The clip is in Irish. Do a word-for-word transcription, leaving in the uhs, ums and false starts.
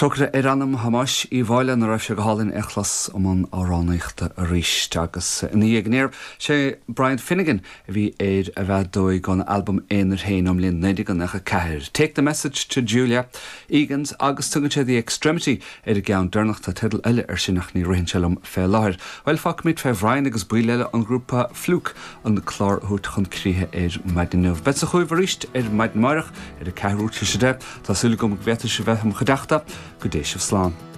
Trócaire ar anam Thomáis Uí Mháille nach raibh sé go hálainn é a chlos i mbun amhránaíochta arís agus ina dhiaidh aniar sé Brian Finnegan a bhí ar an bhfeadóig ón albam aonair féin ón mbliain naoi déag nócha ceathair. Take the message to Julia Egan's agus tugann sé the extremity ar an gceann deireanach tá teideal eile ar sin ach ní ritheann sé liom fé láthair. Well fágfaimid fé Bhrian agus baill eile an ghrúpa Fluke an clár a thabhairt chun críche ar maidin inniu. Beidh chugaibh arís ar maidin amárach ar a ceathrú tar éis a deich Tá súil agam go bhféadfaidh sibh bheith im chuideachta go dté sibh slán.